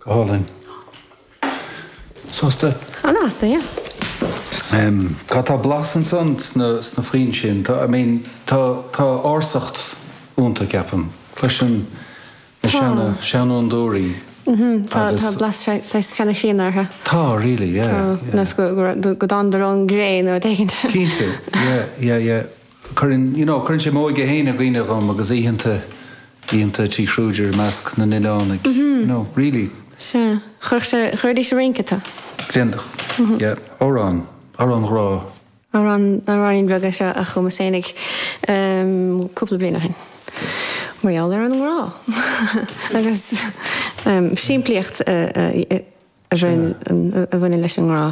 Go hálainn. Sásta? An-sásta, yeah. Cá tá blas ansan sna sna foinn sin? Tá, I mean, tá tá ársacht iontu, ceapaim. Cloisim na seana seanfhondúirí Tá tá blas saghas seana-chríonna orthu. Tá, really, yeah, Tá, yeah. nós go go go dtánadar ón gcré nó rud éigin. Cinnte, yeah, yeah, yeah. Cuireann, you know, cuireann sé m'óige féin i gcuimhne dhom agus oícheanta, oícheanta Tí Kruger i measc na n-oileánaigh, you know, really. Sea. Chuirfeadh sé, chuirfidís ag rince tú. Déanfadh, yeah. Amhrán, amhrán grá. Amhrán, amhráinín beag é seo a chumas fhéinig cúpla bliain ó shin. Mar gheall ar an ngrá. Agus simplíocht a bhaineann leis an ngrá.